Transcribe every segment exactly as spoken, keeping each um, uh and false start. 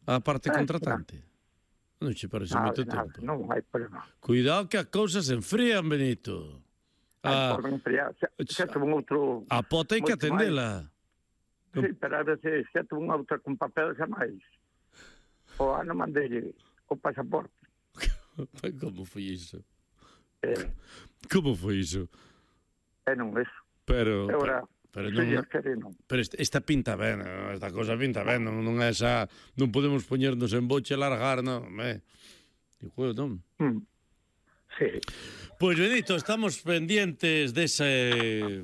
a parte Eh, contratante. Non che parece Nada, moito nada, tempo. non hai problema. Cuidado que as cousas se enfrían, Benito. Ah, A, poden enfriar. Xa, xa tuvo un outro... a pota hai que moito máis. atendela. Sí, pero a veces xa tuvo unha outra con papel xa máis. O ano mandei o pasaporte. Como foi iso? Eh, Como foi iso? e non eso. Pero... Agora, pero, pero se non... Dios quere, non. Pero esta, esta pinta ben, esta cosa pinta ben, non, non é esa... Non podemos poñernos en boche e largar, non, me... Digo, non. Mm. Sí. Pois, Benito, estamos pendientes dese...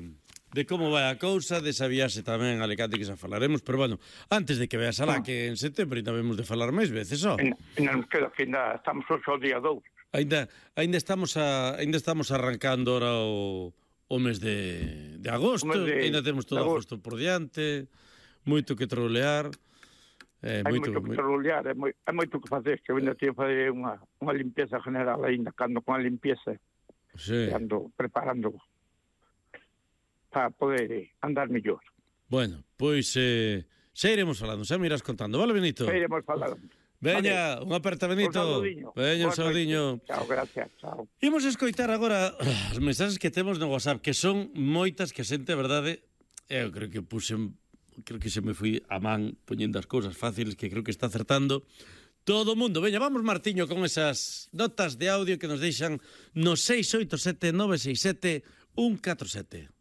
de como vai a cousa, desa viaxe tamén a Alicante que xa falaremos, pero bueno, antes de que veas alá, que en setembro ainda vemos de falar máis veces, ó. E non queda que ainda estamos hoxe ao día dous. Ainda, ainda estamos a, ainda estamos arrancando ahora o, o mes de, de agosto, mes de, ainda temos todo agosto por diante, moito que trolear. Eh, hai moito, moito que moito... trolear, hai, moi, hai moito que facer, que eu ainda teño que fazer unha, unha limpieza general ainda, cando con a limpieza, sí. ando preparando para poder andar mellor. Bueno, pois eh, xa iremos falando, xa me irás contando, vale, Benito? Xa iremos falando. Veña, vale. Unha aperta, Benito. Un saludiño. Veña, un saludiño. Chao, gracias, chao. Imos escoitar agora as mensaxes que temos no WhatsApp, que son moitas que a xente, a verdade, eu creo que puxen, creo que se me fui a man poñendo as cousas fáciles, que creo que está acertando todo o mundo. Veña, vamos, Martiño, con esas notas de audio que nos deixan no seis oito sete nove seis sete un catro sete.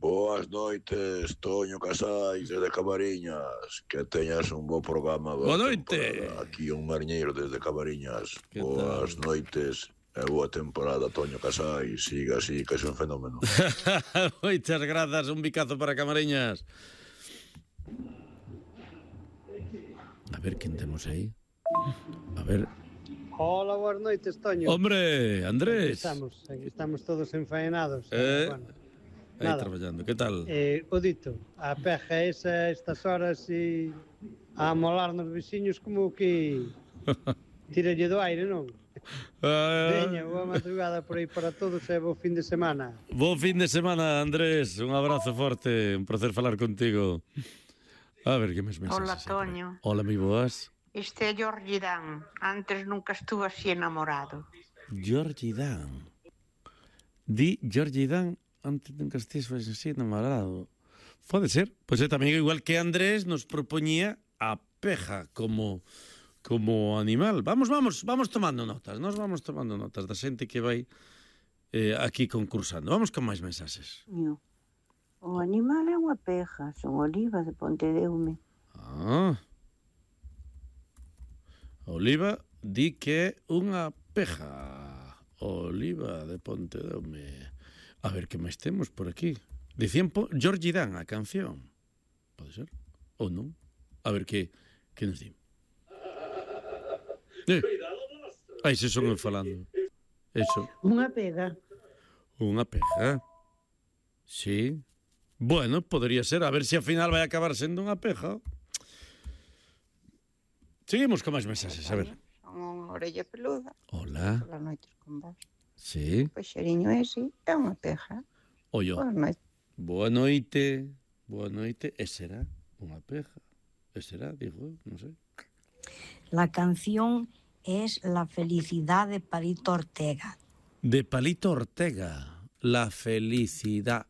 Boas noites, Toño Casais, desde Camariñas. Que teñas un bo programa. Boa noite. Temporada. Aquí un mariñeiro desde Camariñas. Que Boas tal? noites e boa temporada, Toño Casais. Siga así, que é un fenómeno. Moitas grazas, un bicazo para Camariñas. A ver, quen temos aí? A ver... Hola, boas noites, Toño. Hombre, Andrés. Aquí estamos, aquí estamos todos enfaenados. Eh... Bueno. Aí Nada. traballando, que tal? Eh, o dito, a peja esa estas horas e a amolar nos veciños como que tiralle do aire, non? Uh... Veña, boa madrugada por aí para todos e bo fin de semana. Bo fin de semana, Andrés. Un abrazo forte, un placer falar contigo. A ver, que mes mensaxes. Hola, Toño. Hola, mi boas. Este é Jorge Dan. Antes nunca estuve así enamorado. Jorge Dan. Di Jorge Dan. Antes nunca estés así enamorado. Pode ser. Pois é tamén igual que Andrés nos propoñía a peja como como animal. Vamos, vamos, vamos tomando notas. Nos vamos tomando notas da xente que vai eh, aquí concursando. Vamos con máis mensaxes. O animal é unha peja, son Oliva de Pontedeume. Ah. Oliva di que é unha peja. Oliva de Pontedeume. A ver, que máis temos por aquí? Dicían Jorge Dan, a canción. Pode ser? Ou non? A ver, que, que nos di? Eh. Aí se son eu falando. Eso. Unha pega. Unha peja. Sí. Bueno, podría ser. A ver se ao final vai acabar sendo unha peja. Seguimos con máis mensaxes, a ver. Son unha orella peluda. Hola. Polas noites con vos. Sí. Pois xeriño ese é unha peja. Ollo. Boa noite. Boa noite. Boa noite. E será unha peja. E será, digo, non sei. La canción es La felicidad de Palito Ortega. De Palito Ortega. La felicidad.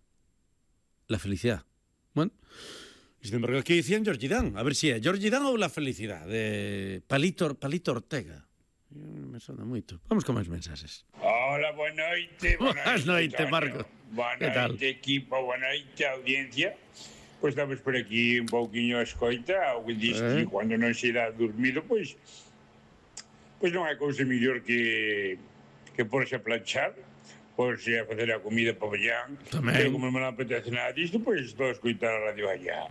La felicidad. Bueno, sin embargo, aquí dicían Jorge Dan. A ver si é Jorge Dan ou La felicidad de Palito, Palito Ortega. Me sona moito. Vamos con máis mensaxes. Hola, boa noite. Boa noite, Marco. Boa noite, equipo, boa noite, audiencia. Pois estamos por aquí un pouquiño a escoita, o que diz que cando non se dá dormido, pois pois non hai cousa mellor que que porse a planchar, porse a facer a comida para mañán. Pero como non me apetece nada disto, pois estou a escoitar a radio allá.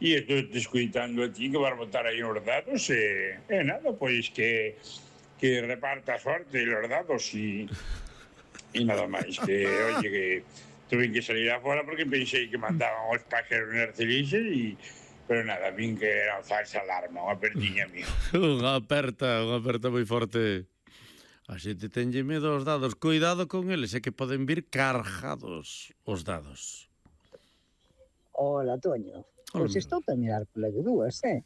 E estou te escoitando a ti que vas botar aí nos datos e, e nada, pois que que reparta sorte los dados y, y nada máis. Que, oye, que tuve que salir afuera porque pensei que mandaban os pájaros narcilises y pero nada, vin que era falsa alarma, unha perdiña mía. Unha aperta, unha aperta moi forte. A xente tenlle medo aos dados. Cuidado con eles, é que poden vir cargados os dados. Hola, Toño. Pois estou a mirar pola de dúas, eh?